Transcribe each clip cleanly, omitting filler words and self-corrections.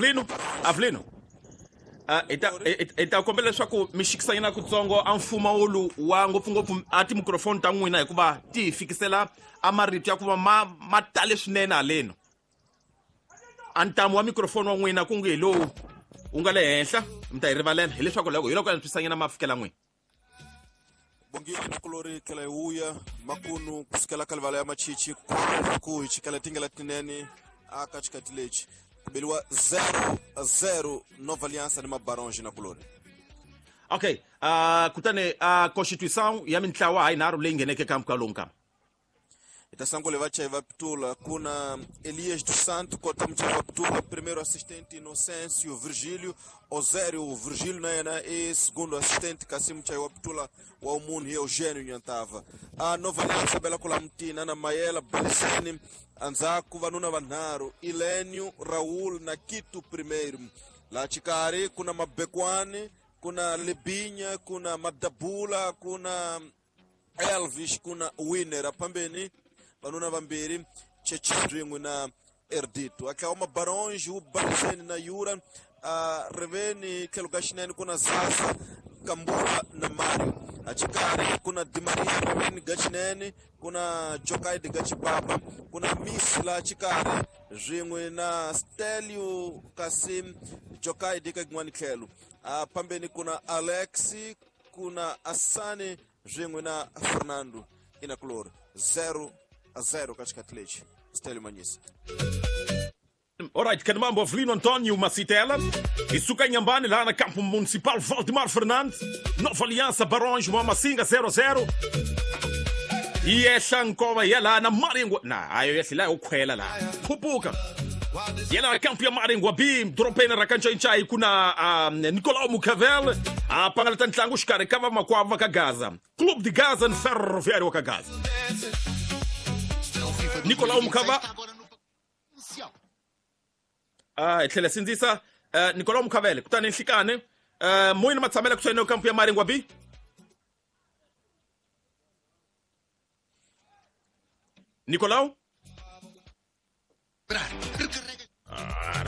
Avelino, Avelino. Hi ta kombela leswaku mi xikisanyana kutsongo a mfumawulu wa ngopfungopfu a timikrofoni ta n'wina hikuva ti hi fikisela a marito ya ku va ma tale swinene haleno. A ntamu wa mikrofoni wa n'wina ku nge hi lowu wu nga le henhla, mi ta hi rivalela hileswaku loko hi loko antswisanyana ma fikela n'wina. Bongile nakulori tlhela hi vuya makunu kusukela ka livala ya machichi ku hi chikela tingela tinene aka xikati lexi ku beliwa 0-0 Nova Aliança ni Mabaronge nakulori. Okay, kutani constituição ya mintlawa ha yinharhu leyi ngheneke ka mpfhuka lowu nkama. Hi ta sangule vachayi va pitula ku na Elias dos Santos kota muchayi wa pitula, primeiro assistente Inocêncio Virgílio Osério Virgílio na yena i segundo assistente, kasi muchayi wa pitula wa munhu hi Eugênio Nyantava. A Nova Aliança bela kula Mutina na Mayela Baliseni, endzhaku vanuna vanharhu Ilênio Raul na Quito primeiro. Laha xikarhi ku na Mabekwani, ku na Lebinya, ku na Madabula, ku na Elvis, ku na Winner. Aphambeni vanuna vambirhi Cheche swin'we na Erdito. A tlhawa Mabaronge wu Baliseni na Yura. A riveni tlhelo ka xinene ku na Zaza Kambula na Mario. A xikarhi ku na Di Maria riveni ga xinene, ku na Jokaidi ga Chibaba, ku na Miss la xikarhi swin'we na Stelio, kasi Jokaidi ka yin'wani tlhelo. A phambeni ku na Alex, ku na Asani swin'we na Fernando Inakulori. 0-0 ka xikati lexi. Stelio Manyisa. Alright, Kanimambo Avelino António Macitela hi suka Inhambane laha na campo municipal Valdemar Fernandes, Nova Aliança Barões Mamasinga 0-0. Yi ehla nkova ya laha na Maringwa na ayo yehli laha yo khwela laha khupuka ya laha kampu ya Maringwa B dorobeni ra Kancayicayi ku na Nicolau Mucavel a pangalata ntlangu xikarhi ka vamakwavo va ka Gaza, Clube de Gaza ni Ferroviário wa ka Gaza. Nicolau Mucava hi tlhela sindzisa Nicolau Mukhavele kutani nhlikani moyini matshamela kusuhi na kampu ya Maringwa B. Nicolau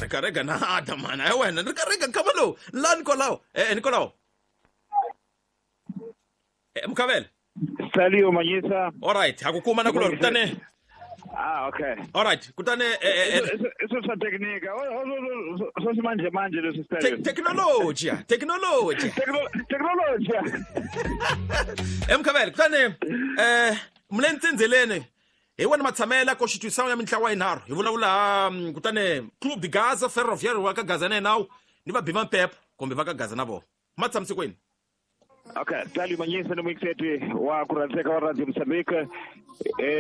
rikarega nada mana ya wena rikarega nkama lowu la Nicolau Nicolau Mukhavele. Saliu Manyisa. All right, ha ku kuma na kulori kutani. Ah, okay. All right, kutani Isso swa teknika. Swa manje manje leswi Stelio. Teknolojia, teknolojia. Teknolojia. Mukhavele kutani mule ntsindzeleni hi wena matshamela constitution ya mintlawa yinharhu hi vulavula kutani Clube de Gaza, Ferroviário wa ka Gaza na nawu ni va Bima Pep kumbe va ka Gaza na vona. Ma tshamisekweni. Okay, Stelio Manyisa ni muyingiseti wa ku rhandzeka wa Radio Mozambique.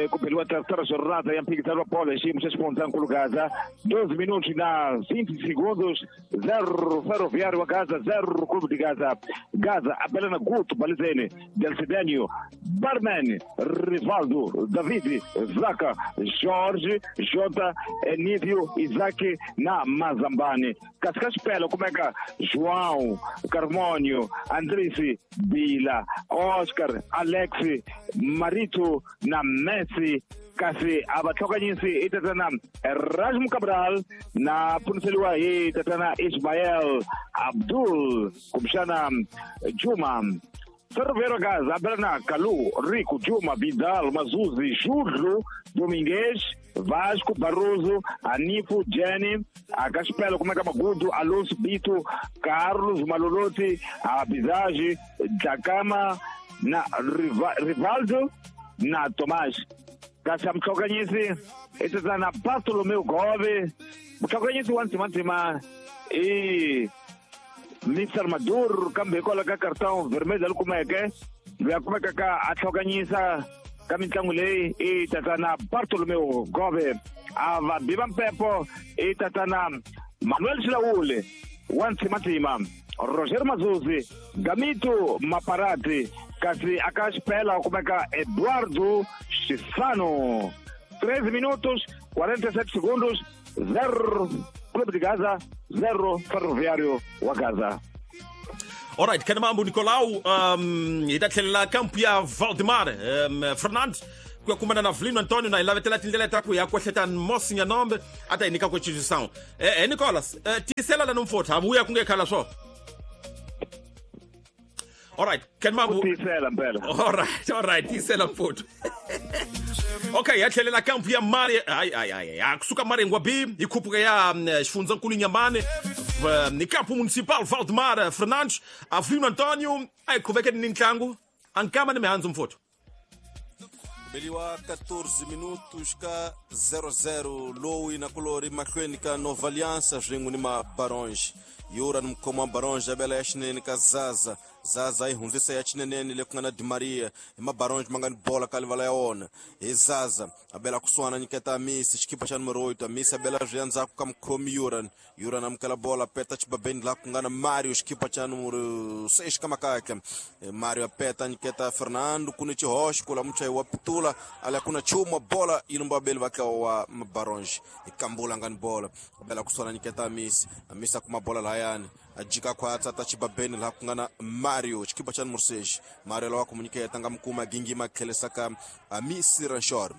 Ku beliwa terceira jornada ya mphikizano wa bolo hi xiyimo xa xifundzankulu Gaza. 12 minutos na 20 segundos, 0 Ferroviário wa Gaza, 0 Clube de Gaza. Gaza apela na Guto Balizeni, Delcidenio, Barman, Rivaldo, David, Zaka, Jorge, Jota, Enívio, Isaac na Mazambani. Kasi ka xipela kumeka João, Carmônio, Andrisi, Bila, Oscar, Alex, Marito na Messi. Kasi a va tlhokanyisi i tatana Rajmu Cabral na pfuniseliwa hi tatana Ismael Abdul kumbexana Juma. Ferroviário Gaza abela na Kalu, Rico, Juma, Vidal, Mazuzi, Júlio, Domingues, Vasco, Barroso, Anifo, Jenny, Akaspelo, Kumeka Magudu, Alonso, Bito, Carlos, Malolotti, Abizage, Jakama, na Rivaldo, na Tomás. Kasi amtlhokanyisi i tatana Bartolomeu Gove, mutlhokanyisi wa ndzimandzima i Mr Maduro, kambe hikwalaho ka cartão vermelho leri kumeke loyi a kumekaka a tlhokanyisa ka mitlangu leyi i tatana Bartolomeu Gove. A va biva mpepo i tatana Manuel Xilawule wa ntsimandzima, Roger Mazuzi, Gamito Maparati, kasi aka xipela kumeka Eduardo Chisano. 13 minutos 47 segundos, 0 Clube de Gaza, 0 Ferroviário wa Gaza. Alright, Kanamambo Nicolau, hi ta tlhelela kampu ya Valdemar Fernandes. Ku ya kumana na Avelino Antonio na hi lavetela tindlela ta ku ya kwehleta Mosi Nyanombe a ta hi nyika kuchizisawu. Nicolas, tisela la nomfotha havuya kunge khala swo. All right, Ken Mambu. Tisela mpela. All right, tisela mfotho. Okay, ya tlhelela kampu ya Mari, ay ay ay, ya kusuka Maringwa B, hi khuphuka ya xifundzankulu Nyambane, ni kampu municipal Valdemar Fernandes, Avelino Antonio, ay khuveke ni ntlangu, ankama ni mihandzu mfotho. Beliwa 14 minutos ka 00 lowu na kulori mahlweni ka Nova Aliança swin'we ni Mabaronge. Yura ni mukhomi wa Baronge abela ya xinene ka Zaza. Zaza yi hundzisa ya xineneni le ku nga na Di Maria. Hi Mabaronge ma nga ni bola ka livala ya wona. Hi Zaza abela kusuhana nyiketa Amisi xikipa xa numero 8. Amisi abela swi ya ndzhaku ka mukhomi Yuran. Yuran amukela bola peta xibabeni laha ku nga na Mario xikipa xa numero 6 ka makaka. Mario apeta nyiketa Fernando ku ni xihoxo ku la muchayi wa pitula ala ku na nchumu wa bola yi lumba vabeli va ntlawa wa Mabaronge. Hi Kambula nga ni bola abela kusuhana nyiketa Amisi. Amisi a kuma bola lahayani a jika khwatsa ta xibabeni laha ku nga na Mario xikipa xa numero 6. Mario lawa ku mu nyiketa nga mukuma gingima tlhelisa ka Amisi Ranshor.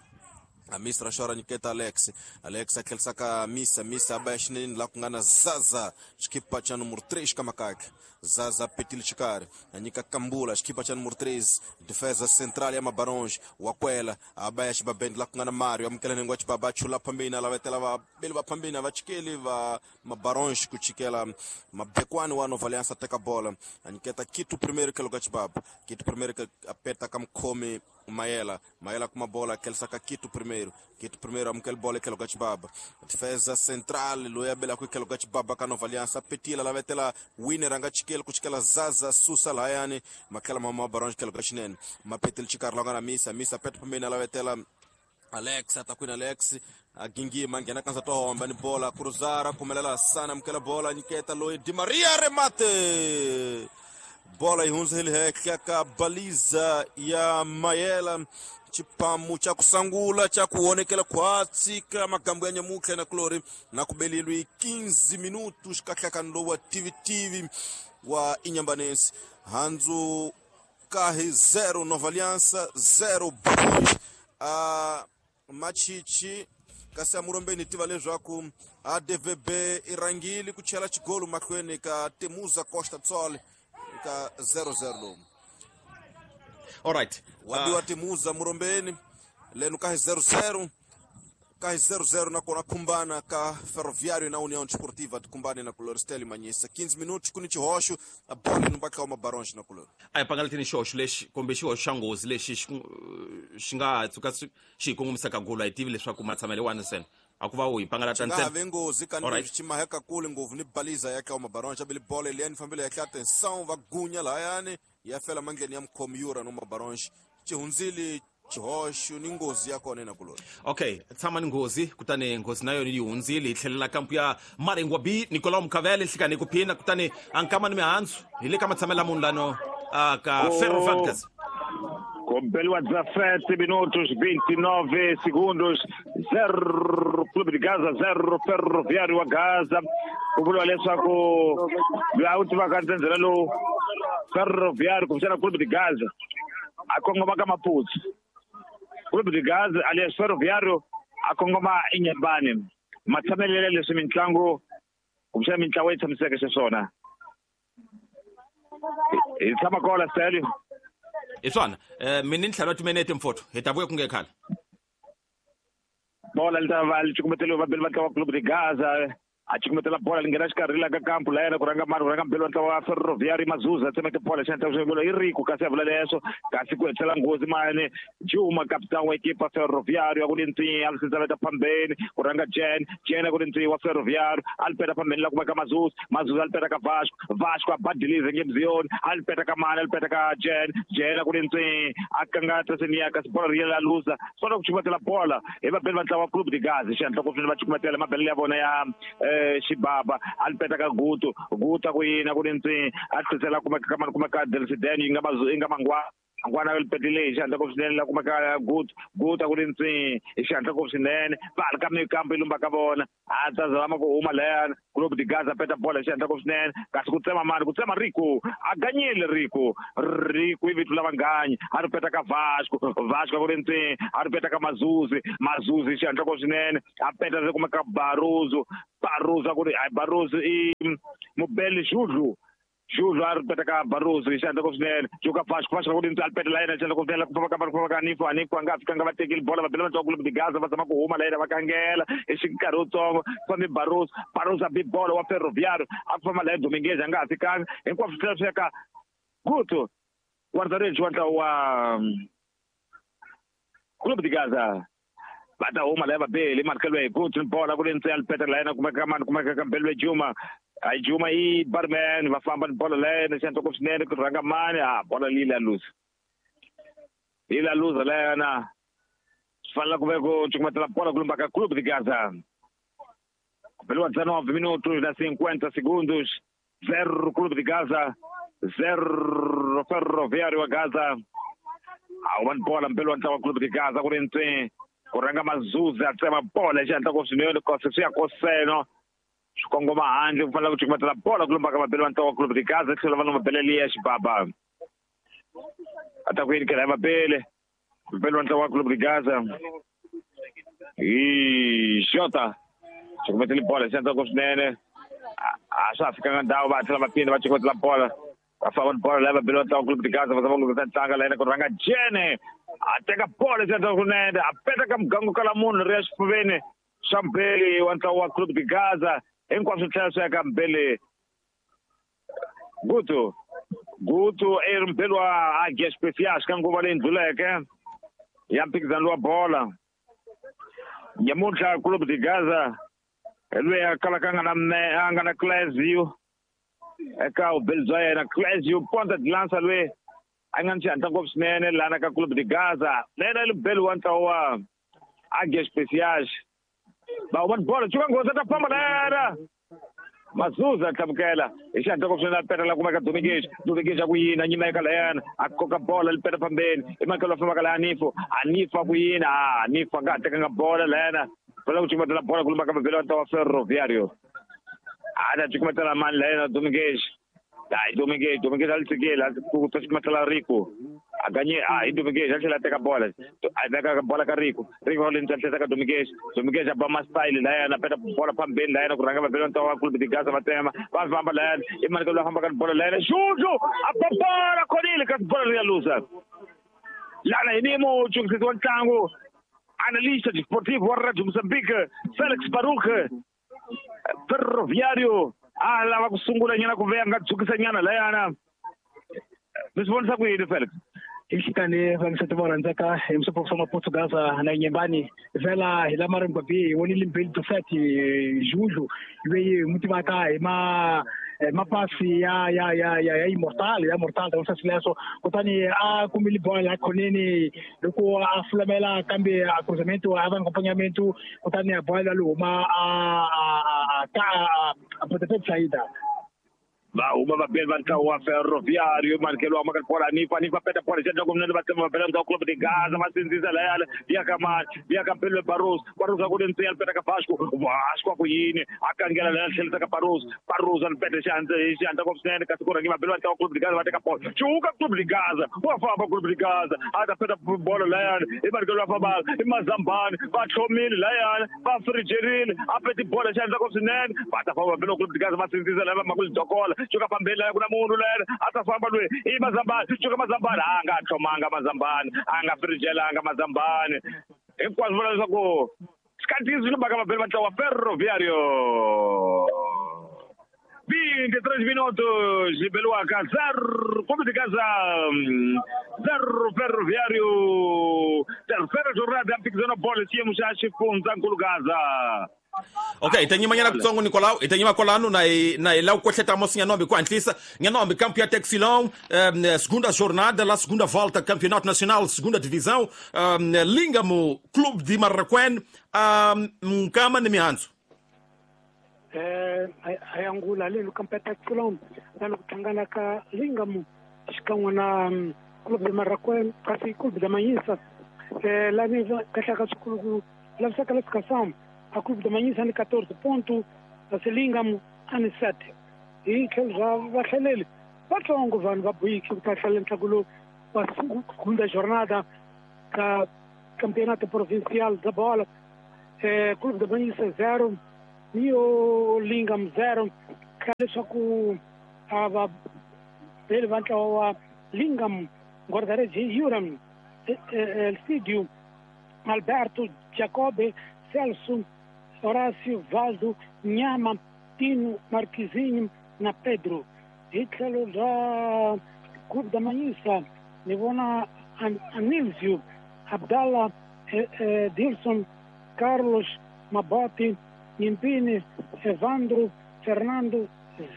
Amisi Ranshor a nyiketa Alex. Alex a tlhelisa ka Amisi. Amisi a ba ya xineneni laha ku nga na Zaza xikipa xa numero 3 ka makaka. Zaza petile xikarhi a nyika Kambula xikipa xa numero 3, defesa central ya Mabaronge. Wa kwela a ba ya xibabeni laha ku nga na Mario, amukela nhengu wa xibaba a chula phambeni a lavetela vabeli va phambeni a va chikeli va Mabaronge ku chikela mabekwani wa Nova Aliança teka bola a nyiketa Kitu primeiro kelo ka xibaba. Kitu primeiro a peta ka mukhomi Mayela. Mayela kuma bola tlhelisa ka Kitu primeiro. Kitu primeiro amukela bola etlhelo ka xibaba. Defesa central loyi a belaka etlhelo ka xibaba ka Nova Aliança petila lavetela winner a nga chikeli ku chikela Zaza susa lahayani matlhela mama Mabaronge tlhelo ka xinene mapetile xikarhi la nga na Misa. Misa peta phambeni a lavetela Alex atakwini. Alex agingima nghena kanza to homba ni bola cruzara kumelela sana amukela bola nyiketa loyi Di Maria remate bola yi hundza hi le henhla ka baliza ya Mayela. Xipamu xa ku sangula xa ku honekela khwatsi ka magambo ya nyamutlha na kulori na ku belilwi 15 minutos ka nhlakano lowu wa tvtv wa Inyambanesi. Handzu kahi 0 Nova Aliança 0 Baronge. A machichi kasi amurombeni tiva leswaku ADVB i rhangile ku chela xigolo mahlweni ka Temuza Costa Tsol ka 0-0 lowu. All right. Wabiwa Temuza murombeni leno kahi 0-0 kahi 0-0 nakona khumbana ka Ferroviário na União Desportiva tikumbane na kulori Steli Manyisa 15 minutos ku ni xihoxo a bola ni vatla wa Mabaronge na kulori. A hi pangalateni xihoxo lexi kumbe xihoxo xa nghozi lexi xi nga tshuka xi hi kongomisaka golo. A hi tivi leswaku matshamelo wani ntsena a ku va u hi pangalata nga ha ntsena. Ve nghozi Alright. kanileswi xi maheka kule ngopfu ni baliza ya ka Mabaronge abele bola liyani fambile ya atenção va gunya lahayani ya fela mandleni ya mukhomi Yura no Mabaronge xi hundzile xihoxo ni nghozi ya kona na kulori. Okay, tshama ni nghozi kutani nghozi na yona yi hundzile. Hi tlhelela kampu ya Maringwa B, Nicolau Mukavele nhlikani ku phina kutani ankama ni mihandzu hi le ka matshamelo ya munhu lano ka Ferro Vargas. Kubeliwa 17 minutos 29 segundos, 0 Clube de Gaza 0 Ferroviário wa Gaza. Ku vuriwa leswaku loyi a wu tivaka ndzhendzhela lowu Ferroviário kumbexana Clube de Gaza a kongoma ka Maputo, Clube de Gaza alias Ferroviário a kongoma Inyambane. Matshamelelo leswi mitlangu kumbexana mintlawa yi tshamiseke xiswona hi tshama kona Stelio. Hi swona, mi ni ntlhanu wa timinete mfotho, hi ta vuya ku nge khale. Bola li ta va li cukumeteliwe vabeli va ntlawa wa Clube de Gaza a cukumetela bola li nghena xikarhi la ka kampu la yena ku rhanga mani ku rhanga mbeli wa ntlawa wa Ferroviário Mazuza tsemeke bola xi endla i riku kasi ya vula leswo kasi ku hetisela nghozi mani Juma capitão wa equipa Ferroviário a ku ni ntsinya a li phambeni ku rhanga Jen Jen a ku ni ntsinya wa Ferroviário a li peta phambeni la kumeka Mazuza Mazuza a li peta ka Vasco Vasco a badilize ngemziyoni a li peta ka mani a li peta ka Jen Jen a ku ni ntsinya a kanga tasenia kasi bola ri yela luza sona ku cukumetela bola hi vabeli va ntlawa wa Clube de Gaza xihatla ku va cukumetela mabelelo ya vona ya xibaba a li peta ka Gutu Gutu a ku yini a ku ni ntsinya a tlhisela kumeka ka mani kumeka Delciden yi nga yi nga mangwa. Angwana li petile hi xihatla ngopfu swinene la kumeka good good a ku ri ntsi hi xihatla ngopfu swinene va ri ka mikambo yi lumba ka vona a ta zama ku huma layani Clube de Gaza peta bola hi xihatla ngopfu swinene kasi ku tsema mani ku tsema Rico a ganyile Rico Rico i vito la vanganyi a ri peta ka Vasco Vasco a ku ri ntsi a ri peta ka Mazuzi Mazuzi hi xihatla ngopfu swinene a peta ri kumeka Baruzu Baruzu a ku ri Baruzu i Mubeli Judlu Judlu a ri peta ka Baruzu hi xihatla ngopfu swinene Juka Vasco Vasco ku ri ntsi a ri peta la yena hi xihatla ngopfu swinene ku famba ka ku famba ka Anifu Anifu a nga fikanga va tekile bola va bela va Clube de Gaza va zama ku huma la yena va kangela hi xinkarhi wutsongo fambi Baruzu Baruzu a bi bola wa Ferroviário a ku famba la Dominguez a nga ha fikanga hinkwaswo swi tlhela swi ya ka Guto guarda-redes wa ntlawa wa Clube de Gaza va ta huma la va beli markelo hi Guto bola ku ri ntsi a ri peta la yena kumeka mani kumeka ka Mbelwe Juma a Juma i barman va famba ni bola la yena xihatla ngopfu swinene ku rhanga mani a bola leyi la luza yi la luza la yena swi fanele ku ve ku cukumetela bola ku lumba ka Clube de Gaza ku beliwa 19 minutos na 50 segundos 0 Clube de Gaza 0 Ferroviário wa Gaza a huma ni bola mbeli wa ntlawa Clube de Gaza ku ri ntsi ku rhanga Mazuzi a tsema bola hi xihatla ngopfu swinene kose swi ya koseno swi kongoma handle ku fanele ku cukumetela bola ku lumba ka vabeli va ntlawa Clube de Gaza tlhela va no mabele liya xibaba a ta ku yini kela ya vabele vabeli va ntlawa Clube de Gaza hi xota cukumetele bola hi xihatla ngopfu swinene a swa ha fikanga ndhawu va tlhela va phinda va cukumetela bola va famba ni bola laya vabeli va ntlawa Clube de Gaza va zama ku lunghisa ntanga la yena ku rhanga Jene a teka bola hi xihatla swinene a peta ka mugangu kala munhu ri ya xifuveni xa mbeli wa ntlawa wa Clube de Gaza hinkwaswo tlhela swi ya ka mbeli Guto Guto i ri mbeli wa Águias Especiais ka nguva leyi ndluleke ya mphikizano wa bola nyamuntlha Clube de Gaza hi loyi a kalaka a nga na a nga na Clésio eka vubeli bya yena Clésio Ponta de Lança loyi a nga ni xihatla ngopfu swinene lana ka Clube de Gaza na yena i mubeli wa ntlawa wa Águias Especiais va huma ni bola cuka nghozi a ta famba na yena Mazuza a tlhamukela hi xihatla ngopfu swinene a peta la kumeka Dominguez Dominguez a ku yini a nyima eka layana a koka bola li peta fambeni i makelo a fambaka la Anifo Anifo a ku yini a Anifo a nga ha tekanga bola layana fanele ku cukumetela bola ku lumba ka mabeli wa ntlawa wa Ferroviário a ta cukumetela mani layena Dominguez hayi Dominguez Dominguez a li tshikile a ku ta cukumetela Rico a ganye a hi Dominguez a tlhela a teka bola a veka bola ka Rico Rico le ntsena tlhela ka Dominguez Dominguez a ba ma style layana peta bola phambeni layana ku rhanga vabeli va ntlawa wa Clube de Gaza va tsema va famba layana i mani ka loyi a fambaka ni bola layana Juju a ba bola khonile kasi bola ri ya luza lana hi ni muchungisisi wa ntlangu analista desportivo wa Radio Mozambique Felix Baruch Ferroviário a lava ku sungula nyana ku veya nga dzukisa nyana layana mi swi vonisa ku yini Felix Inhlikani vangisati va rhandzaka hi musopho swa Maportugaza na Nyembani vhela hi lama ri ngwabi hi vonile mbeli Dosati Juju loyi hi n'wi tivaka hi ma mapasi ya ya ya ya ya immortal ya mortal ta swa swileswo kutani a kumile bola la khoneni loko a fulamela kambe a cruzamento a va acompanhamento kutani a bola lo huma a a a a pontapé de saída Va huma vabeli va ntlawa wa Ferroviário markelo wa maka bola Anifa Anifa peta bola xendla ku mnene va tsema va bela ntlawa Clube de Gaza va sindzisa layana ya ka mani ya ka Mpelo Barros Barros a ku ri ntsiya peta ka Vasco Vasco a ku yini a kangela laya tlhelisa ka Barros Barros a peta xihandza hi xihandza ngopfu swinene kasi ku rhangi va bela va ntlawa Clube de Gaza va teka bola cuka Clube de Gaza wa famba Clube de Gaza a ta peta bola layana i markelo wa famba i Mazambani va tlhomile layana va frijerile a peti bola xihandza ngopfu swinene va ta famba va bela Clube de Gaza va sindzisa laya va maku lidokola cuka phambeni laya ku na munhu layana a ta famba loyi i Mazambani cuka Mazambani a nga tlhomanga Mazambani a nga frijelanga Mazambani hinkwaswo vula leswaku sikhathi swi lombaka vabeli va ntlawa Ferroviário 23 minutos beliwaka 0 Clube de Gaza 0 Ferroviário terceira jornada ya mphikizano wa bolo xiyimo xa xifundzankulu Gaza Okay, hi ta nyimanyana kutsongo Nicolau, hi ta nyima kwalano na hi na hi lava ku kwehleta mosi Nyanombe ku hatlisa. Nyanombe campo ya Texilão, segunda jornada, la segunda volta, Campeonato Nacional, segunda divisão, Lingamo, Clube de Marraquém, Nkama ni mihandzu. Hayangula leno kampo ya Texilão na loko hlangana ka Lingamo xikan'we na Clube de Marraquém kasi Clube da Manhissa lá kahlaka swikulu lavisa classificação a Clube da Manhissa ni 14 ponto kasi Lingam ani 7 hi tlhelo ra vahlaleli vatsongo vanhu va Buiki ku ta hlalela ntlangu lowu wa segunda jornada ka Campeonato Provincial da Bola. Clube da Manhissa 0 Neo Lingam 0 ka leswaku a va beli va ntlawa wa Lingam guarda-redes Yuram Elcidio Alberto Jacobe Celso Horácio Valdo Nhama Tino Marquizinho na Pedro. Hi tlhelo ra Clube da Manhissa ni vona Anilzio Abdallah Dilson Carlos Maboti Nyimpini Evandro Fernando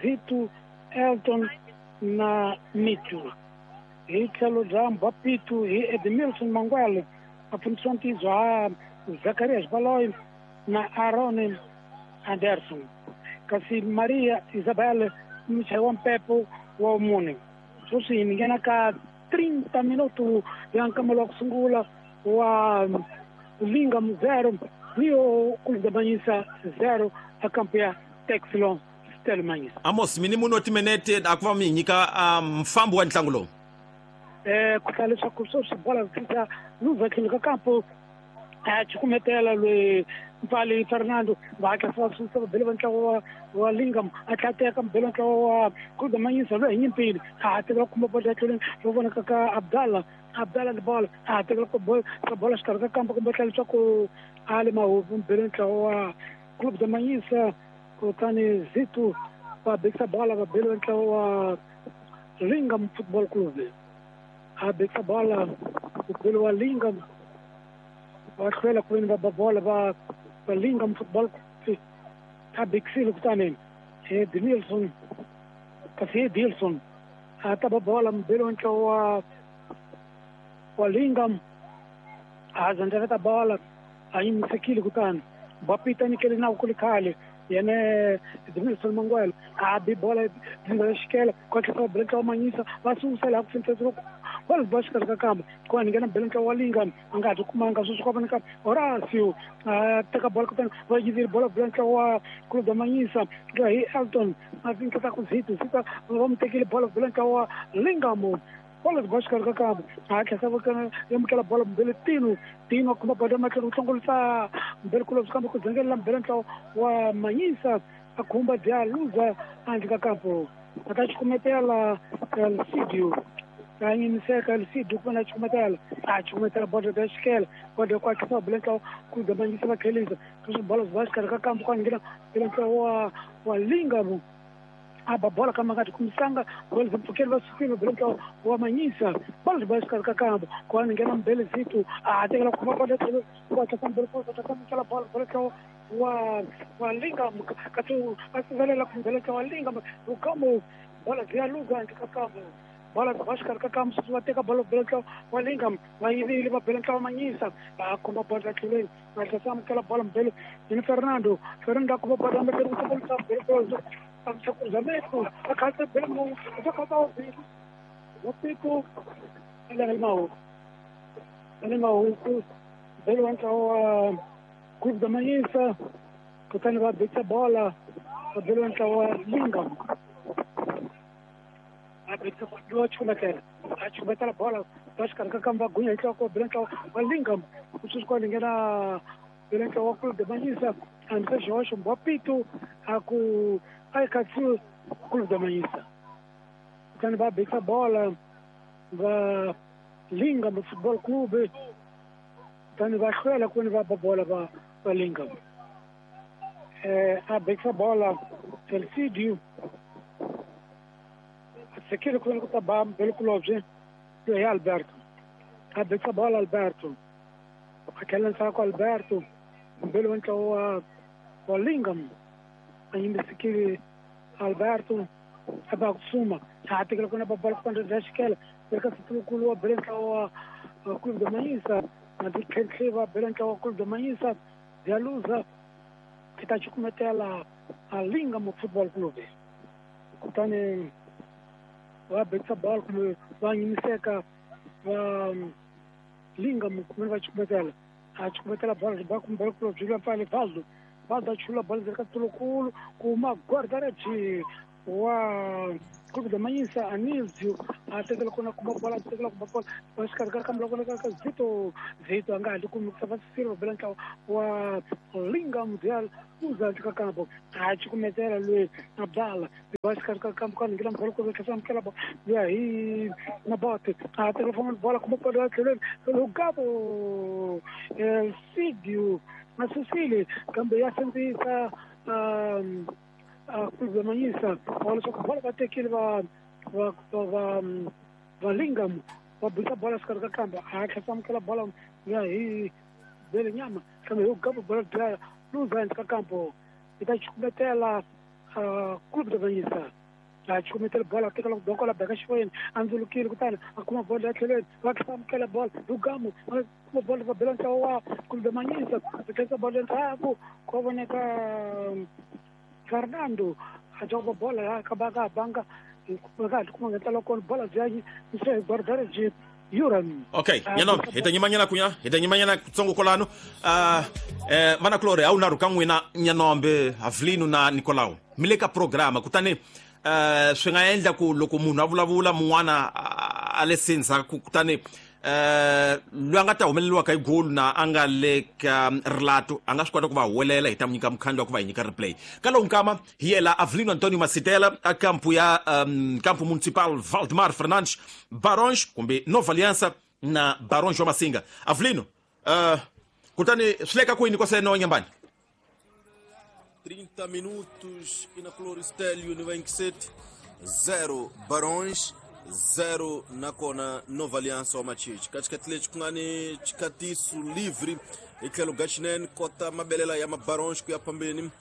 Zito Elton na Mitio. Hi tlhelo bya Mbapito hi Edmilson Mangwele a pfunisiwa ntiyiso ha Zacarias Baloy na Aaron Anderson kasi Maria Isabel muchayi wa mpepo wa mune. Sweswi hi nghena ka 30 minuto ya nkamelo wa ku sungula wa Lingam 0 Rio Clube da Manhissa 0 a kampo ya Texlon Stella Manhissa. Amos mini munhu wa timinete a ku va mi nyika mfambo wa ntlangu lowu. Ku hlaya leswaku sweswi bola fika luza tlhelo ka kampo a cukumetela loyi Mpali Fernando va hatlisa va susa va bele va ntlawa wa Lingam a tlhela teka mubele wa ntlawa wa Clube da Manhissa loyi hi nyimpini a ha tekela khumba bola tlhelweni ro vonaka ka Abdallah Abdallah ni bola a ha tekela ka bola xikarhi ka kampo kumbe tlhela leswaku a le mahupu mubele ntlawa wa Clube da Manhissa kutani Zito va bekisa bola va bele ntlawa wa Lingam Football Club a bekisa bola mubele wa Lingam va hlwela ku veni va ba bola va Lingam Football Club a bekisile kutani Edmilson kasi Edilson a ta ba bola mubele wa ntlawa wa Lingam a zandzaveta bola a yimisekile kutani Bapita nyikele nawu ku ri khale yene Edmilson Mangwele a bi bola dzinga xikela ku hatlisa va bela ntlawa Manhissa va susa laha ku fentsetse bola ba xikarhi ka kamba ku va nghena bela ntlawa wa Lingam a nga ha ti kumanga sweswi ku va ka Horacio a teka bola kutani va yivile bola bela ntlawa wa Clube da Manhissa hi Elton a tinketa ku Zito Zito va mu tekile bola bela ntlawa wa Lingam bola ba xikarhi ka kamba a hatlisa va amukela bola mbele Tino Tino a khumba bola matlhelo ku hlongolisa mbele kulobye kambe ku dzengelela mbele ntlawa wa Manhissa a khumba dya luza handle ka kampo a ta cukumetela Elcidio a yimiseka Elcidio ku va na cukumetela a cukumetela bola ya xikela bola ku hatlisa va bela ntlawa Clube da Manhissa va tlhelisa leswi bola byi va xikarhi ka kampo ku nghena bela ntlawa wa Lingam a ba bola kama nga ti kumisanga bola zimpfukeli va sukile va bela ntlawa wa Manhissa bola byi va xikarhi ka kampo ku va nghena mbele Zito a tekela khumba bola tlhelo ku hatlisa mbele ku hatlisa amukela bola bela ntlawa wa Lingam kasi a sivelela ku mbele ntlawa wa Lingam lukamo bola byi luza handle ka kampo bola byi va xikarhi ka kampo sweswi va teka bola bela ntlawa wa Lingam va yivile va bela ntlawa Manhissa va khumba bola tlhelweni va hatlisa amukela bola mbele yini Fernando Fernando a khumba bola mbele ku hlongolisa mbele cruzamento, a casa bem, o pico, ele maluco, veio entrar o Clube da Manhissa, kutani va betsa bola, veio entrar o Lingam, a betsa bola, a chumetela bola, acho que a kamba gunya itla ko veio entrar o Lingam, o susco lingena veio entrar o Clube da Manhissa, André Jorge Mbapito, a ku Aikatsu Clube da Manhissa. Kutani va betsa bola va Lingam Football Club kutani va hlwela ku va ba bola va Lingam. A betsa bola Elcidio a tsekile ku ku ta ba mbele kulobye hi Alberto. A betsa bola Alberto a tlhela ndzhaku Alberto mbele wa ntlawa wa Lingam a yimisekile Alberto a ba kusuma a tekela kuna ba bola ku bya xikela eka sitikulu wa bela ntlawa wa Clube da Manhissa na titlhentlhe va bela ntlawa wa Clube da Manhissa bya luza i ta cukumetela a Lingam Football Club kutani va betsa bola kumbe va yimiseka Va Linga kumbe va chukumetela a chukumetela bola ba kumbe bola byi pfale Valdo Valdo a chula bola ndzeni ka tulukulu kuma guarda-redes wa Clube da Manhissa Anísio a tekela kona kuma bola tekela kuma bola va xikarhi ka kambe loko ka Zito Zito a nga ha kumi ku va Silva bela ntlawa wa Linga Mundial uza ka kampo a chukumetela loyi Abdala va xikarhi ka kampo ka ngila bola ku tlhela amukela bola ya hi na bote a tekela famba bola kuma bola ya tlhelweni Lugabo El Sidio na Cecile kambe ya sindzisa Clube da Manhissa leswaku bola va tekile va va va va Lingam va bisa bola xikarhi ka kamba a tlhela amukela bola ya hi bele nyama kambe hi gabo bola dlaya luza endla ka kampo yi ta chukumetela Clube da Manhissa a chukumetela bola tekela dokola beka xivoyeni a ndzulukile kutani a kuma bola ya tlhelweni va tlhela amukela bola Lugamo va kuma bola va bela ntlawa wa Clube da Manhissa va tlherisa bola endzhaku ko voneka Fernando a joga bola ka banga ka kuma ngentla kona bola byanyi nse guarda-redes Yuran. Okay, nyana hi ta nyimanyana kunya hi ta nyimanyana kutsongo kolano vana Clore a wu na rhuka n'wina Nyanombe Avelino na Nicolau mi le ka programa kutani swi nga endla ku loko munhu a vulavula mun'wana a le sendzhaku kutani loyi a nga ta humeleriwaka hi golu na a nga le ka rilato a nga swi kota ku va huwelela hi ta mu nyika mukhandlu wa ku va hi nyika replay ka lowu nkama hi yela Avelino Antonio Masitela a kampu ya kampo municipal Valdemar Fernandes Barões kumbe Nova Aliança na Barões wa Masinga. Avelino, kutani swi le ka kwini kwaseno Nyambani? 30 minutos e na Cloristelio ni 27 0 Barões 0 nakona Nova Aliança wa Machichi. Katikati lexi ku nga ni xikatiso livre hi tlhelo ga xinene kota mabelela ya mabarões ku ya phambeni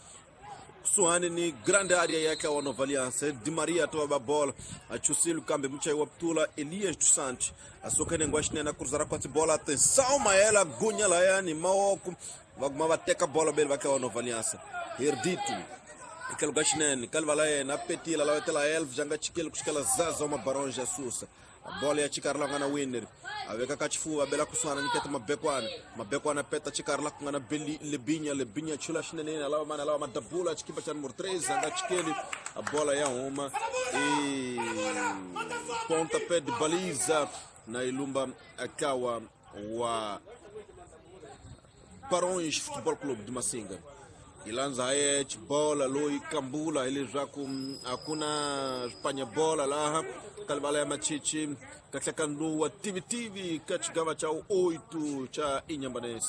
kusuhani ni grande area ya ka wa Nova Aliança. Di Maria to va bola a chusile kambe muchayi wa putula Elias dos Santos a suka nengwa xinene a kuruzara kwatsi bola. Atenção maela gunya layani maoko va kuma va teka bola bele va ka wa Nova Aliança. Herdito ikelo ga xinene kalivala yena a petila lavetela elf janga chikele kuxikela zaza wa mabarões ya susa a bola ya chikari la nga na winner a veka ka xifuva a bela kusuhana nyiketa mabekwana mabekwana peta chikari la ku nga na lebinya lebinya chula xinene a lava mani a lava madabula xikipa xa numero 3 a nga chikeli a bola ya huma i pontapé de baliza na ilumba akawa wa Barões Futebol Clube de Massinga. Ilanza haye bola loyi kambula hileswaku a ku na swipanya bola laha kalivala ya Machichi kahlakanduwa tivitivi ka xigava xa 8 xa Inhambane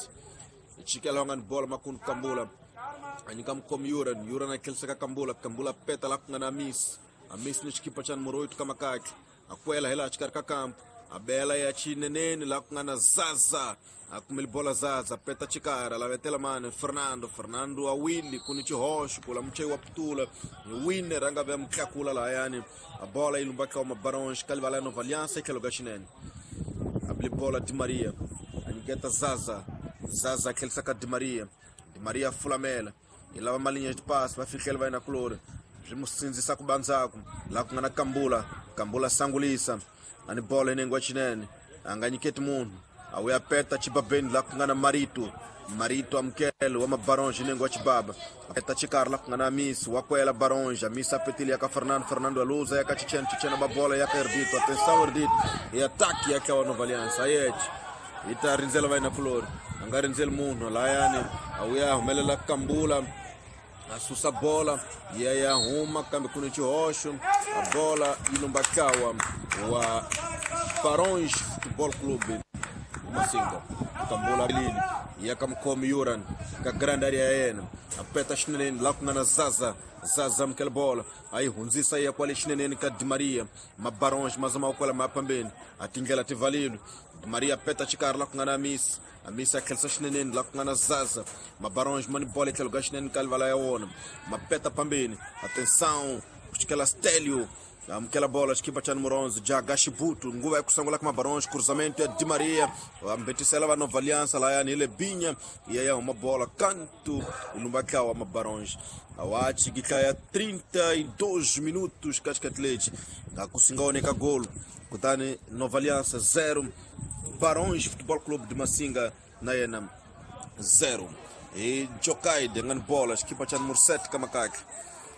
chikela nga ni bola makunu kambula a nyika mukhomi Yuran Yuran a tlheliseka kambula kambula peta la ku nga na Amis Amis ni xikipa xa numero 8 ka makakhi a kwela hi laha xikarhi ka kampu a bela ya xineneni laha ku nga na Zaza a kumele bola Zaza peta chikara lavetela mani Fernando Fernando a wili ku ni xihoxo ku la muchayi wa putula ni winner a nga ve mutlakula lahayani a bola yi lumba ka mabarões kalivala ya Nova Aliança tlhelo ka xinene a bile bola Di Maria a nyiketa Zaza Zaza a tlhelisa ka Di Maria Di Maria fulamela yi lava malinha de passe va fihlela va yena kulori swi mu sindzisa ku bandzaku laha ku nga na Kambula Kambula sangulisa a ni bola inengo xinene a nga nyiketi munhu a wuya peta chibabeni la ku nga na Marito Marito amukele wa mabarões inengo wa chibaba peta chikari la ku nga na Amis wa kwela Barões Amis a petile ya ka Fernando Fernando aluza ya ka Chichena Chichena babola ya ka Erdito atenção Erdito e ataque ya ka wa Nova Aliança ayete yi ta rindzela va yena kulori a nga rindzeli munhu layani a wuya humelela Kambula a susa bola ya ya huma kambe ku ni xihoxo a bola yi lumba kawa wa Barões Futebol Clube Massinga Kambula lini ya ka mukhomi Yuran ka grande area ya yena a peta xineneni laha ku nga na Zaza Zaza amukela bola a yi hundzisa ya kwale xineneni ka Di Maria mabarões ma zama kwala ma phambeni a tindlela ti valile Di Maria peta xikarhi laha ku nga na Amis Amis a tlhelisa xineneni laha ku nga na Zaza mabarões ma ni bola etlhelo ka xinene ka livala ya wona ma peta phambeni atenção ku xikela Stelio Amukela bola xikipa cha número 11 Jagashibutu nguva ya kusangula ka Mabarões, cruzamento ya Di Maria, ambetisela va Nova Aliança layani ile binya ya ya huma bola canto ilumbaka wa Mabarões. Awachi gitlaya 32 minutos katikati akusingaoneka golo kutani Nova Aliança 0 Barões Futebol Clube de Massinga na yena 0. E Jokaide ngani bola xikipa cha número 7 kamakaki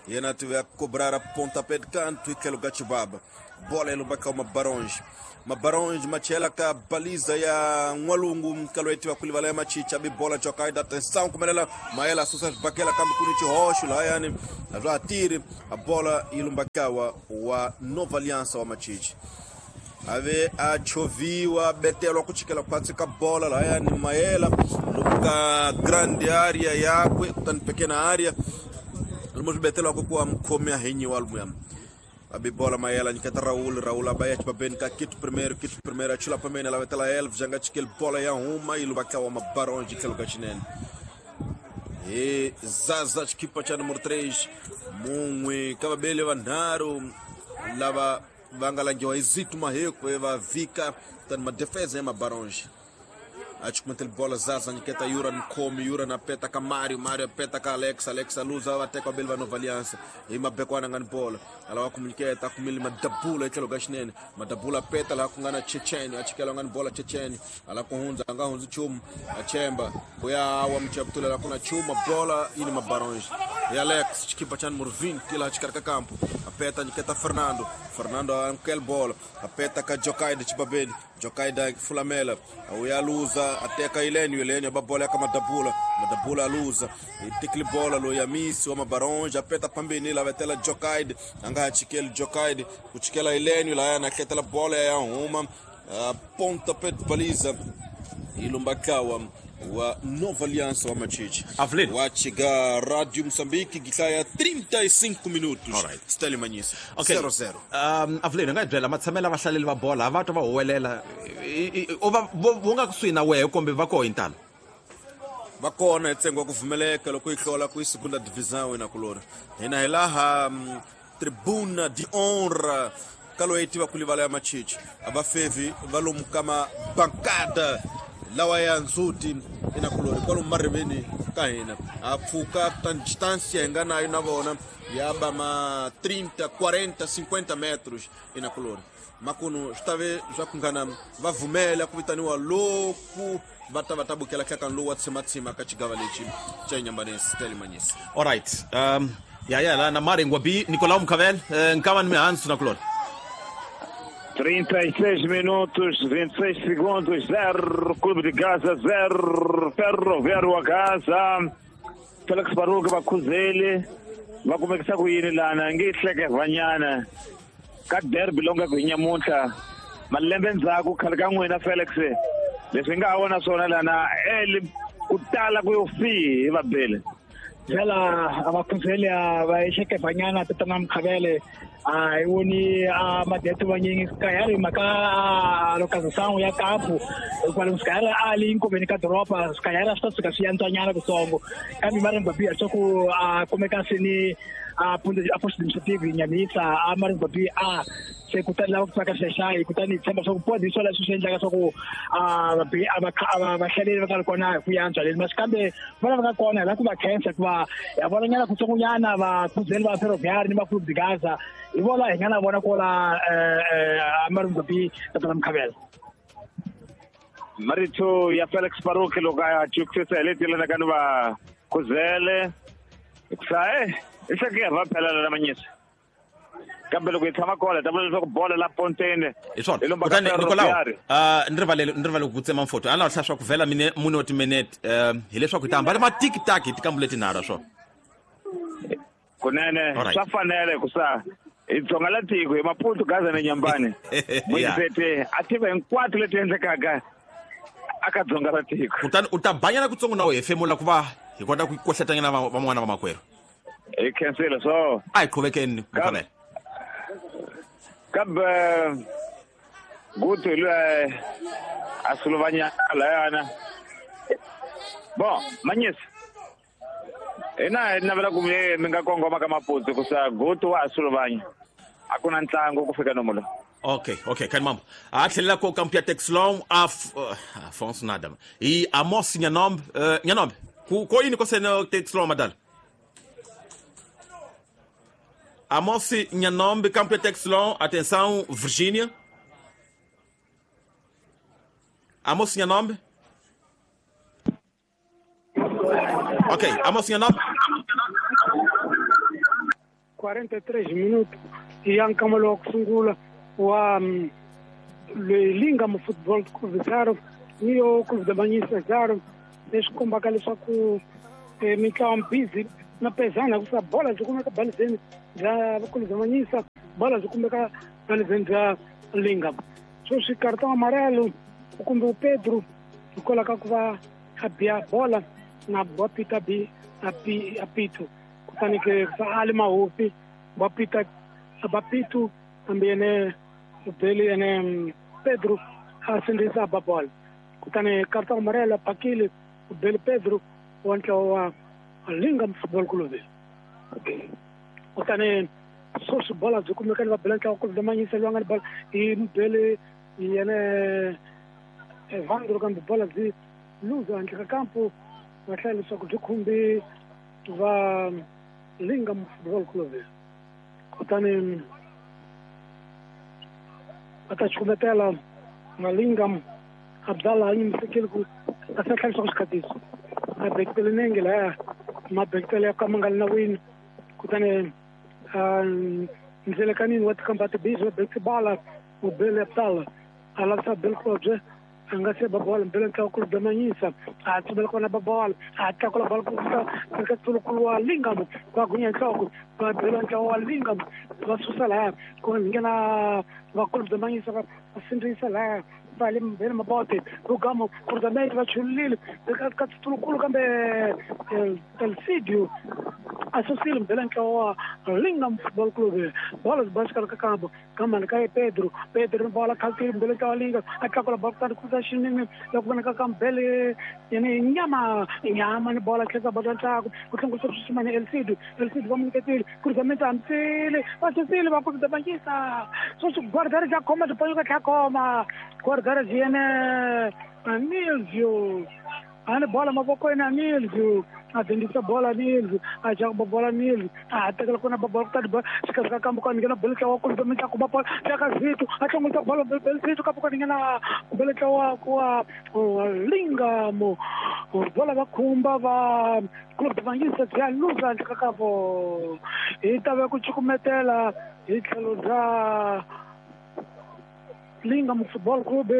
yena tive a cobrar a pontapé de canto e que lugar chibaba bola ilumbaka uma Barões Mabarões machela ka baliza ya N'walungu kalwetiwa kulivala ya machicha bi bola Jokaide atenção kumelela maela susa bakela kambi kuni chihoxo layani azwa atiri a bola ilumbakawa wa Nova Aliança wa machichi ave achoviwa betelwa kuchikela kwatsi ka bola layani maela luka grande area yakwe kutani pequena área lumo kuwa mkhome ahenyiwa lumuyam abi bola maela nyiketa Raul Raul abaya chibabeni ka kitu primeiro achula pamene la vetela elf janga chikel bola ya huma ilubaka wa Mabarões keluka chinene e Zaza chikipa cha número 3 munwe kababele vanharu lava vangalangiwa izitu maheko eva vika tani madefesa ya Mabarões achikumetele bola Zaza nyiketa Yura Nkomi Yura na peta ka Mario Mario peta ka Alex Alex aluza vateka bele va Nova Aliança imabekwana ngani bola alawa kumunyiketa kumili madabula etlhelo ka xinene madabula peta laha ku nga na Checheni achikela ngani bola Checheni ala ku hundza a nga hundzi nchumu achemba ku ya wa muchaputula laha ku na chuma bola yini Mabarões e Alex xikipa cha número 20 laha xikarhi ka kampo apeta nyiketa Fernando Fernando amukela bola apeta ka Jokaide chibabeni Jokaide fulamela uyaluza ateka Ilênio Ilênio aba bola ka Madabula Madabula aluza itikli bola lo yamisi wa Mabarões apeta pambeni la vetela Jokaide anga achikele Jokaide kuchikela Ilênio la na ketela bola ya huma ponta pet baliza ilumbakawa wa Nova Aliança wa Machichi wachiga Rádio Moçambique gitlaya 35 minutos. Alright. Stanley Manyisa okay. 0-0. Avelino nga byela matshamela vahlaleli va bola va twa va huwelela vo nga kusuhi na wehe kumbe va koho intalo va kona hi ntsengo wa ku pfumeleka loko yi hlola ku yi segunda divisão ina kulori hina hi laha tribuna de honra kalo yi tiva ku livala ya Machichi a va fevi va lomu ka mabankada lawa ya ndzhuti ina kulori kwalomu mariveni ka hina a pfuka kutani distância hi nga nayo na vona ya ba ma 30 40 50 metros ina kulori makunu swi ta ve swa ku ngana va vumela ku vitaniwa loku va ta va ta bukela hlakani lowu wa tshimatsima ka xigava lexi xa Inyambanesi Stanley Manyisa. Alright. Ya la na Mari Ngwabi Nicolau Mkhavel nkava ni mihansu na kulori 36 minutos, 26 segundos, 0, Clube de Gaza, 0, Ferroviário a Gaza. Felix Baruch vakhuzeli va kumekisa ku yini lana nge hleke vanyana ka derby longa ku nyamuntlha malembe ndzhaku khale ka n'wina Felix leswi nga ha vona swona lana eli ku tala ku yo fihi hi vabele vela abakhuzeli va ehleke vanyana tatana Mkhavele a hi voni a madeto vanyingi sikayari mhaka lokazisano ya kampu hikwalaho sikayari a li nkoveni ka doroba sikayari a swi ta suka swi yantswanyana kutsongo kambe Maringwabi a swa ku a kumeka seni a post administrative Nyamisa a Maringwabi a se kutani lava ku tsaka xexayi kutani hi tshemba swa ku podi hi swona leswi swi endlaka swa ku vahlaleri va nga ri kona hi ku yantswa leni masi kambe vana va nga kona hi lava ku va khensa hikuva ya vonanyana kutsongonyana vakhuzeli va Ferroviário ni va Clube de Gaza hi vona hi nga na vona kola Maringwabi tatana Mkhavela. Marito ya Felix Baruch loko a chukisisa hi leti lana ka ni va khuzele hikusa i hleke va phela na Manyisa kambe loko hi tshama kona ta vula leswaku bola la ponteni hi swona kutani Nicolau ni rivale ku tsema mfoto a ni lava hlaya swa ku vhela mine mune wa timinete hileswaku hi ta hambana matikitaki hi tikambu letinharhu swona kunene swa fanele hikusa hi dzonga la tiko hi Maputo Gaza na Nyambani muyisete a tiva hinkwato leti endlekaka aka dzonga ra tiko kutani u ta banyana kutsongo na wehe hefemula ku va hi kota ku kohletanyana van'wana va makwerhu hi khensile so a hi qhuvekeni Mkhavele kambe gutu loyi a sulovanyana layana bon Manyisa hina hi navela ku mi nga kongoma ka Maputo kusa gutu wa ha sulovanya. A ku na ntlangu ku fika nomu lowu. Okay, kan mambo. A tlhelela ko kampo ya Texlon Afonso nada. E Amos Nyanombe, Nyanombe. Ku ko yini ko sena Texlon madala? Amos Nyanombe, campo ya Texlon, atenção, Virgínia. Amos Nyanombe. Ok, Amos Nyanombe. 43 minutos ya nkamelo wa ku sungula wa Lingam Football Club 0 niyo Clube da Manhissa 0, leswi kombaka leswaku mitlawa busy na pezana ku bola byi kumeka balizeni bya Clube da Manhissa, bola byi kumeka balizeni bya Lingam. Sweswi cartão amarelo kumbe o Pedro hikwalaho ka ku va a biya bola na Bapita bi apito, kutani ke ali mahofi Bapita Bapito hambi yene Beli yene Pedro a sindzisa ba bola, kutani cartão amarelo pakile Beli Pedro wa ntlawa wa Lingam Football Club. Kutani sweswi bola byi kumeka ni va bela ntlawa Clube da Manhissa loyi a nga ni bola hi Beli yene Evandro, kambe bola byi luza handle ka kampo, va hlaya leswaku byi khumbi va Lingam Football Club. Kutani va ta chukumetela na Lingam Abdallah a yimisekile ku a sa tlhela leswaku xikhatiso a bekitele nenge laya mabekitele ya ka ma nga li nawini, kutani ndlelekanini wa tikamba tibizi va bekite bala mubele Abdallah a lavisa bele kulobye a nga se ba bola mbele ntlawa Clube da Manhissa a tsumela kona ba bola a tlakula bola ku fika eka tsulukulu wa Lingam va gunya nhloko va bela ntlawa wa Lingam va susa laya ku nghena va Clube da Manhissa va sindzisa laya va le mbele mabote Lugamo cruzamento va chulile ka tsulukulu kambe Elcidio a susile mbele ntlawa wa Lingam Football Club. Bola byi xikarhi ka kambo kamani ka Pedro, Pedro bola khaltile mbele ntlawa Lingam a tlakula bola kutani kuza xinene loko vonaka ka mbele yene nyama nyama ni bola tlhela bola ntsako ku hlongorisa swishimani Elcidio, Elcidio va mu nyiketile cruzamento hambisile va susile va Clube da Manhissa. Sweswi guardare bya khoma byi panyuka tlha khoma guardare byi yene Nilvio a ni bola mavokweni a Nilvio a dendisa bola Nilvio a jaka bola Nilvio a tekela kona bola kutani bola xikarhi ka kambo ka nghena bele ntlawa Clube da Manhissa kuma bola tlaka Zito a hlongorisa bola bele Zito kambo ka nghena bele ntlawa wa Lingam bola va khumba va Clube da Manhissa bya luza handle ka kambo hi ta va ku cukumetela hi tlhelo bya Lingam Football Club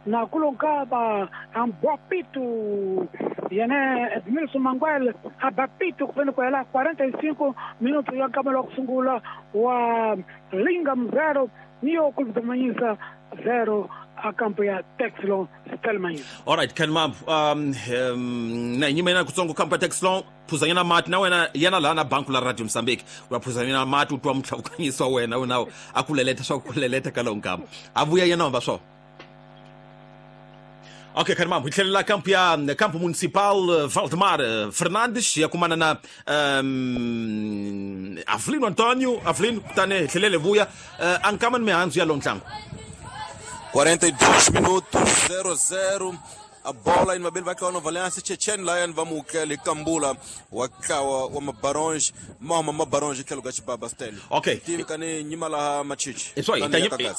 na kulonkaba Ambapito yene Edmilson Manguel Abapito ku ku hela 45 minutos ya nkamelo wa ku sungula wa Lingam 0 niyo Clube da Manhissa 0 a kampo ya Texlon Stelman. Alright, Ken Mambo, na nyima kutsongo kampo ya Texlon phuzanyana mati na wena yena la na banku la Radio Mozambique wa phuzanyana mati utwa mtlhawukanyiswa wena unawo akuleletha swa kuleletha ka lo nkama avuya yena hamba swo. Ok, Ken Mambo, hi tlhelela kampo ya Campo Municipal Valdemar Fernandes ya kumana na Avelino Antonio. Avelino, kutani hi tlhelele vuya ankama ni mihandzu ya lo ntlangu. 42 minutos, 0-0. A bola em Mabel vai cair Nova Aliança. Chechen Lion vamos Kambula wakawa wa Mabaronge mama Mabaronge ke lugachi baba steli. Ok. Tivi kani nyima la machichi. Eso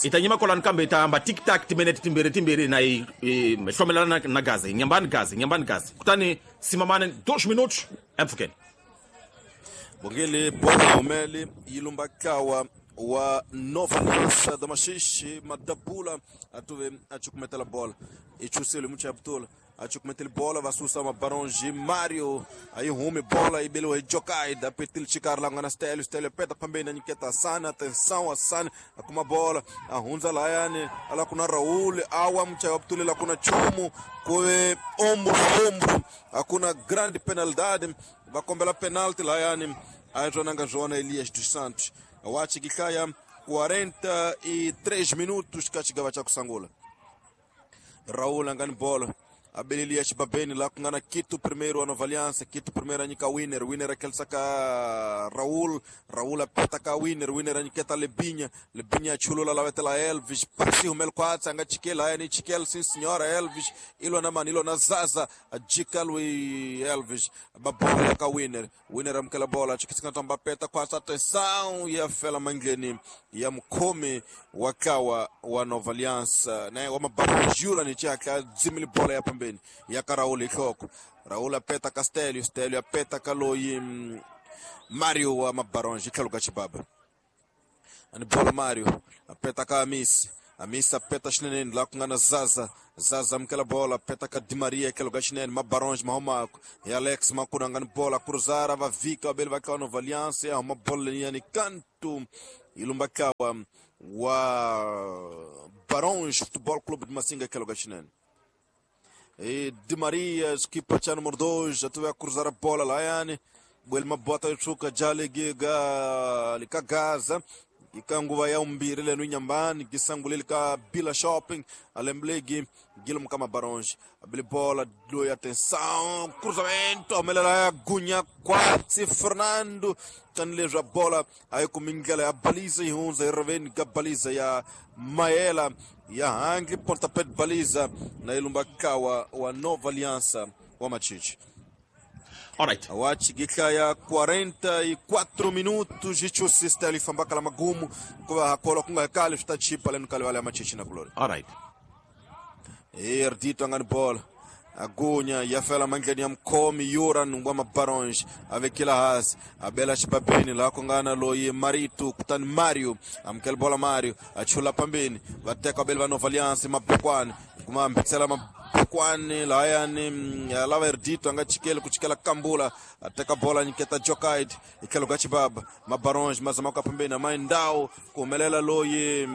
itanyima kola nkambe itamba tic tac timinete timbiri timbiri na hlomelana na gazi nyambani gazi nyambani gazi. Kutani simamane 2 minutos emfukeni. Bongele bola umeli ilumba kawa wa Nova Aliança da Machixe Madapula atuve achukumetela bola ichusele mucha abtula achukumetela bola vasusa Mabaronge Mario aí rume bola e belo jokai da petil chicar lá na stélio stélio peta pambena niketa sana atenção asana akuma bola ahunza layane ala kuna Raul awa mucha abtula la kuna chumu koe ombro ombro akuna grande penalidade vakombela penalti layane ajonanga Joana Elias dos Santos. Wachi kikaya 43 minutos kachigava cha kusangula. Raul angani bola. Abelilia xibabeni laha ku nga na Quito primeiro wa Nova Aliança, Quito primeiro a nyika Winner, Winner a khelisa ka Raul, Raul a peta ka Winner, Winner a nyiketa Lebinha, Lebinha a chulula lavetela Elvis, pasi humel kwatsi a nga chikeli haya ni chikeli sim senhora Elvis, ilo na mani, ilo na Zaza, a jika lui Elvis, ba bola ka Winner, Winner amukela bola, chikisika tamba peta kwatsi, atenção, ya fela mangleni ya mukhomi wa kawa wa Nova Aliança, né, wa mabarujura ni chaka dzimili bola ya pambeni ya ka Raul ihloko, Raul apeta ka Stelio, Stelio apeta ka loyi Mario wa Mabaronge tlhelo ka Chibaba, ani bola Mario apeta ka Amisi, Amisi apeta xineneni laha ku nga na Zaza, Zaza amukela bola apeta ka Di Maria tlhelo ka xinene, Mabaronge mahumako ya Alex Makuna nga ni bola cruzara va vika vabeli va ka Nova Aliança ya huma bola leyani kantu ilumba kawa wa Baronge Futebol Clube de Massinga tlhelo ka xinene. E Di Maria, equipa cha número 2, já teve a cruzar a bola lá, yani. Bwelma bota yuchuka jale giga lika Gaza. Ikanguva ya umbiri lenu inyambani, gisangule lika Bila Shopping, alemblegi, Guilherme Kama Baronge. Abili bola, doi atenção, cruzamento, amelela ya Gunha, quase Fernando. Tanleja bola, aí kumingela ya baliza ihunza, irveni ka baliza ya Maela, ya hangi pontapé de baliza na ilumba kawa wa Nova Aliança wa Machichi. Alright. Awachi giklaya 44 minutos jichusista lifambaka la magumu kwa hakola kunga kali tutachipa lenu kali wale Machichi na kulori. Alright. Erdito angani bola. Agunya yafela mangleni ya mkomi Yuran wa Mabaronge avekila hasi abela xibabeni laha ku nga na loyi Marito kutani Mario amukela bola Mario achula pambeni va teka vabeli va Nova Aliança Mabukwani kuma mbitsela Mabukwani lahayani lava Erdito a nga chikeli ku chikela Kambula a teka bola nyiketa Jokaid hi tlhelo ka Chibaba Mabaronge ma zama ku ya pambeni amaindhawu ku humelela loyi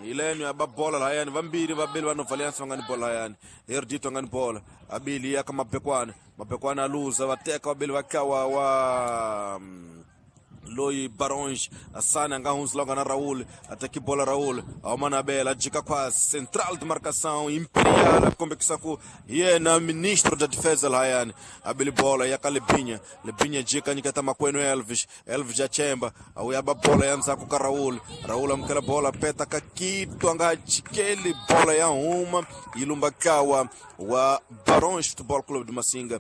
ileno ya ba bola lahayani vambirhi vabeli va Nova Aliança va nga ni bola lahayani Erdito a nga ni bola abili ya ka Mabekwana, Mabekwana aluza va teka vabeli va kawa wa loyi Baronge Asana nga hundzula nga na Raul ataki bola Raul a bela jika kwa central de marcação Imperial kombekisa ku yena ministro da defesa lahayani abili bola ya ka Lebinha, Lebinha jika nyiketa makwenu Elvis, Elvis achemba auya ba bola ya ndzhaku ka Raul, Raul amukela bola peta ka Quito anga chikeli bola ya huma ilumba kawa wa Baronge Futebol Clube de Massinga.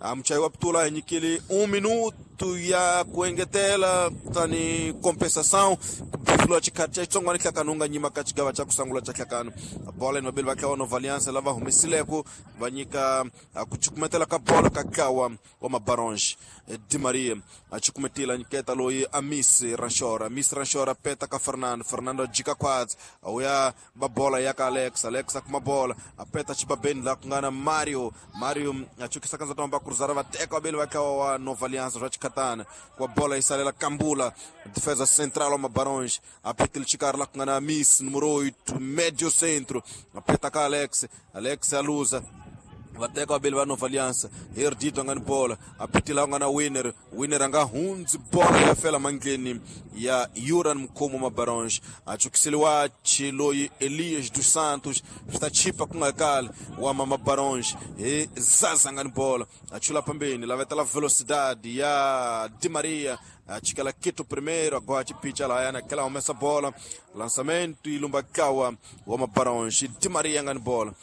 Amchai wa ptula nyikili 1 minuto ya kuengetela tani compensação kubifula chikati cha tsongwani hlakanunga nyima ka chigava cha kusangula cha hlakano bola ni vabeli va kawa Nova Aliança lava humesileko va nyika kuchukumetela ka bola ka kawa wa Mabaronge Di Maria achukumetela nyiketa loyi Amisi Ranchora, Amisi Ranchora peta ka Fernando, Fernando jika kwatsi auya ba bola ya ka Alex, Alex akuma bola apeta chibabeni la kungana Mario, Mario achukisa kanza tomba cruzara va teka vabeli va kawa wa Nova Aliança swa chikatana kwa bola isalela Kambula defesa central wa Mabaronge apetile chikari la kungana Amisi número 8 médio centro apeta ka Alex, Alex aluza vateka vabeli va Nova Aliança Erdito anga ni bola apitila nga na Winner, Winner anga hundzi bola ya fela mangleni ya Yuran Mkhomo Mabaronge achukiseliwa chiloyi Elias dos Santos swi ta chipa ku nga kali wa Mabaronge hi Zaza anga ni bola achula pambeni lavetela velocidade ya Di Maria achikela Quito primeiro agora chipicha lahayana aquela humesa bola lançamento ilumba kawa wa Mabaronge Di Maria anga ni bola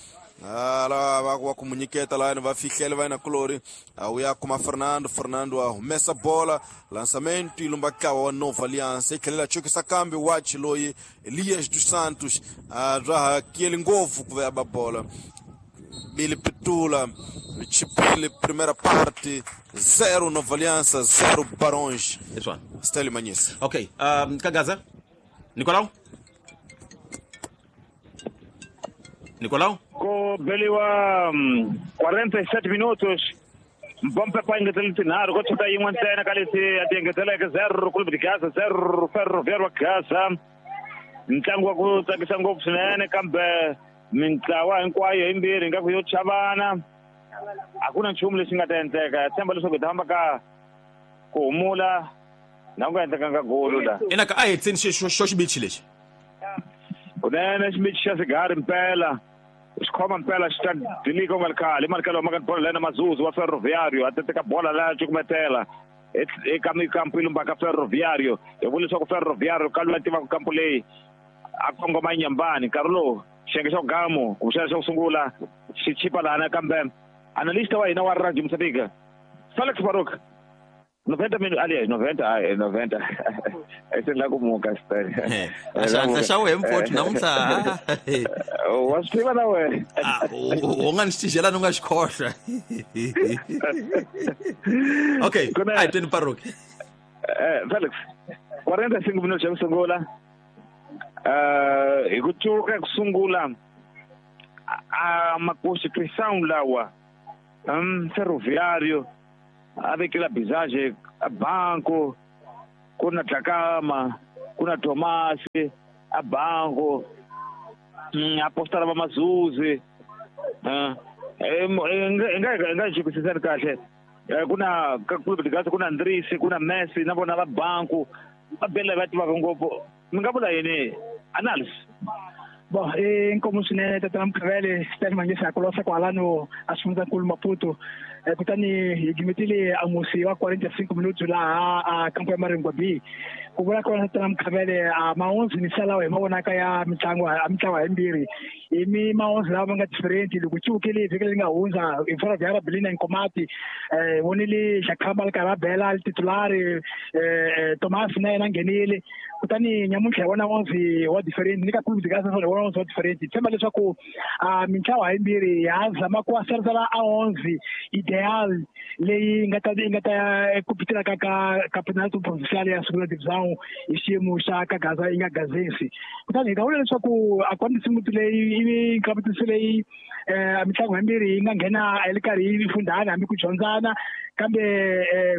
ala va kumunyiketa lahayani va fihlela va yena kulori auya kuma Fernando, Fernando a humesa bola lançamento ilumba kawa wa Nova Aliança ikhelela chukisa kambi wa chiloyi Elias dos Santos raha kieli ngopfu ku va ba bola Bili Pitula Chipile primeira parte 0 Nova Aliança 0 Baronge. Stélio Manhissa. Ok, Kagaza Nicolau, Nicolau ko beliwa 47 minutos mpompe pa engetela tinharhu ko chota yin'we ntsena ka leti a ti engeteleke 0 Clube de Gaza 0 Ferroviário wa Gaza. Ntlangu wa ku tsakisa ngopfu swinene kambe mintlawa hinkwayo yimbirhi ingaku yo chavana a ku na nchumu lexi nga ta endleka. Tshemba leswaku hi ta famba ka ku humula na ku nga endlekanga golo la ina ka a hetseni xo xibichi lexi kunene xibichi xa sigari mpela. Xikhoma mpela xi ta dilika u nga ri khale i malikelo maka bola lena Mazuzu wa Ferroviário a teka bola la cukumetela eka mikampu yi lumbaka Ferroviário. Hi vula leswaku Ferroviário ka loyi a tivaka kampu leyi a kongoma Inhambane. Nkarhi lowu xiyenge xa gamu kumbexana xa ku sungula xi chipa lana, kambe analyst wa hina wa Radio Mozambique Felix Baruch 90 minutos, aliás, 90, ai, 90. Esse lá como Castanho. Xandla xa wehe mfowethu namuntlha. Wa swi tiva na wena. U nga ni xitijela ni u nga xi khohlwa. Okay, a hi tweni Baruch. Felix, 45 minutos xa ku sungula. Hi ku cuka ku sungula a makosi pressão lawa. Ferroviário a vekela Bizage a banco, ku na Dlakama, ku na Tomasi a banco, apostala va Mazuzi. Nga xikwisisani kahle. Ku na ka Clube de Gaza, ku na Andrisi, ku na Messi na vona va banco, va bela va tivaka ngopfu. Mi nga vula yini analysis? Bon, inkomu swinene tatana Mkhavele, Stanley Mangisa kulosa kwalano a xifundzankulu Maputo. Kutani hi gimetile a musi wa 45 minutos laha a kampo ya Maringwa B. Ku vula kona tatana Mkhavele, a maonzi ni salawa hi mavonaka ya mitlangu a mitlawa yimbirhi. Hi mi maonzi lawa ma nga different loko ciukile vhiki leri nga hundza hi Ferroviário Belina Nkomati, vonile Xakhamba ri karhi a bela titulari, Thomas na yena nghenile. Kutani nyamuntlha hi vona onzi wa different ni ka Clube de Gaza hi vona onzi wa different. Hi tshemba leswaku mintlawa yimbirhi ya zama ku aserisela a onzi ideal leyi nga ta ku pitela ka campeonato provincial ya Segunda Divisão hi xiyimo xa ka Gaza yi nga gazesi. Kutani hi nga vula leswaku a kwandisi leyi i competition leyi mitlangu yimbirhi yi nga nghena yi ri karhi yi fundhana hambi ku dyondzana, kambe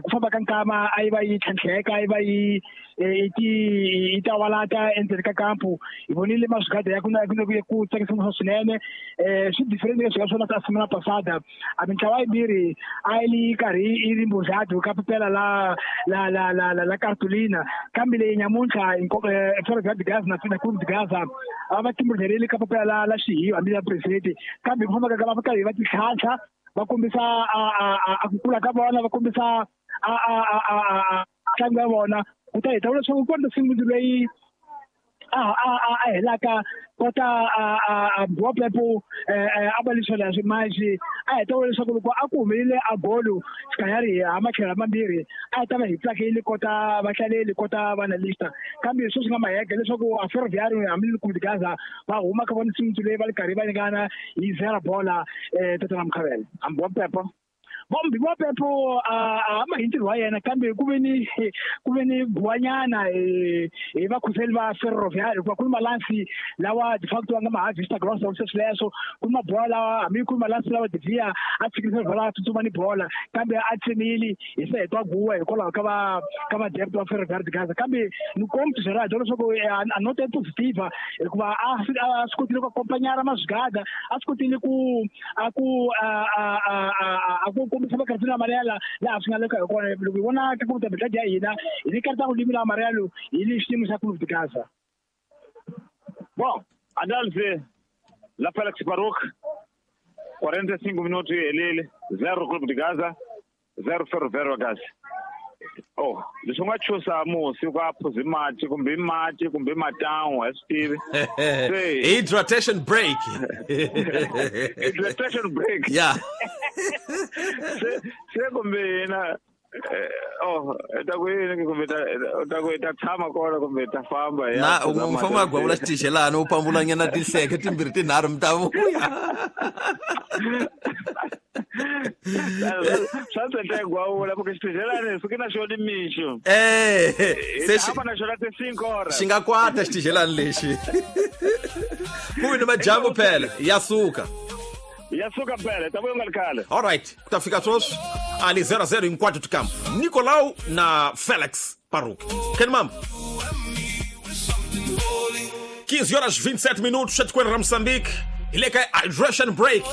ku famba ka nkama a yi va yi tlhantlheka, a yi va yi yi tawalata endzeni ka kampu. Hi vonile maswigada ya ku na ku tsakisa swinene. Swi different leswi nga swona swa semana passada. A mintlawa yimbirhi a yi ri karhi yi ri mbuzadu ka pepela la la la la la la cartolina, kambe leyi nyamuntlha Ferroviário de Gaza na Clube de Gaza a va timbudlerile ka papela la la xihiyo hambi la president, kambe ku famba ka va karhi va titlhantlha va kombisa a ku kula ka vona, va kombisa a ntlangu ya vona. Kutani hi ta vula leswaku kona simundi leyi a helaka kota a Mbiwa Pepo a va leswi leswi manje a hi ta vula leswaku loko a ku humelele a golo xikanyari ha matlhelo mambirhi a hi ta va hi tsakile kota vahlaleli kota vanalista, kambe sweswi nga mahega leswaku a Ferroviário hambi Clube de Gaza va huma ka vona simundi leyi va ri karhi va ringana hi zero bola. Tatana Mkhavele, Mbiwa Pepo Mbiwa Pepo a ma hi ntirho wa yena, kambe ku ve ni guwanyana hi vakhuseli va Ferroviário hikuva ku ni malansi lawa de facto va nga ma harvesta gross sweswo sweswo, ku ni mabola lawa hambi ku ni malansi lawa Devia a tshikisa bola a tsutsuma ni bola, kambe a tsemile hi se hetwa guwa hikwalaho ka va ka madepto va Ferroviário de Gaza. Kambe ni kombi Gerard leswaku a nota positiva hikuva a swi kotile ku akompanyara maswigada, a swi kotile ku a ku a ku kombisa makartini amarelo laha swi nga le ka hi kona. Loko hi vona ka ku ta ya hina hi ni karta ku limila amarelo hi le xiyimo xa Clube de Gaza. Bom, análise la Felix Baruch, 45 minutos elele, 0 Clube de Gaza, 0 Ferroviário Gaza. Oh, leswi nga chusa musi ku a phuzi mati kumbe mati kumbe matan'wa a swi tivi. Hydratation break. Hydratation break. Yeah. Se kumbe hina oh ta ku yini kumbe ta ku ta tshama kona kumbe ta famba ya. Na u famba gwavula xitixelana u pambulanyana tinhleke timbirhi tinharhu mi ta vuya. Swa tsetla gwavula porque xitixelani suke na xona mixo. Se xi na xona ti 5 horas. Xi nga kwata xitixelani lexi. Ku ni majambu phela ya suka. Ya suka phela ta vuya nga ri khale. All right, ku ta fika sweswi ali 0-0 hinkwato tikambu. Nicolau na Felix Baruch. Ken mambo. 15 horas 27 minutos etikweni ra Mozambique. Hi le ka hydration break.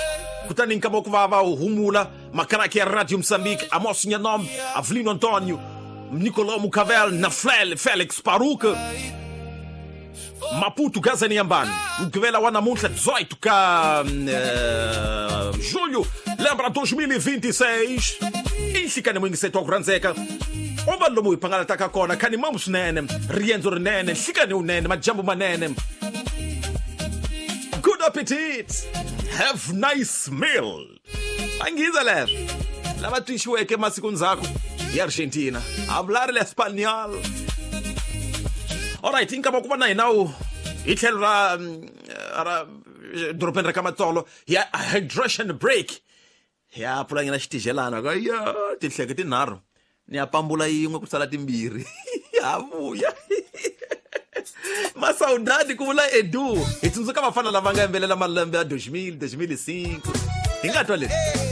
Kutani nkama ku va va humula makaraki ya Radio Mozambique, Amos Nhanombe, Avelino Antonio, Nicolau Mucavel na Felix Baruch. Maputo Gaza Inhambane. Mugqivela wa namuntlha 18 ka julho lembra 2026 i nhlikani muyingiseti wa ku rhandzeka u va lomu hi phangalataka kona khani mamu swinene riendzo rinene nhlikani wunene majambu manene. Good appetit, have nice meal. Angiza leswo lava twixiweke masiku ndzhaku hi Argentina hablar el español. Alright, inkama ku va na hina wu hi tlhelo ra ra dorobeni ra ka Matsolo hi ya hydration break, hi ya pfulanyana xitijelana ka ya tinhleke tinharhu ni ya pambula yin'we ku sala timbirhi ha vuya masaudadi ku vula Edu. Hi tsundzuka vafana lava nga yimbelela malembe ya 2000 2005 hi nga twa leswi.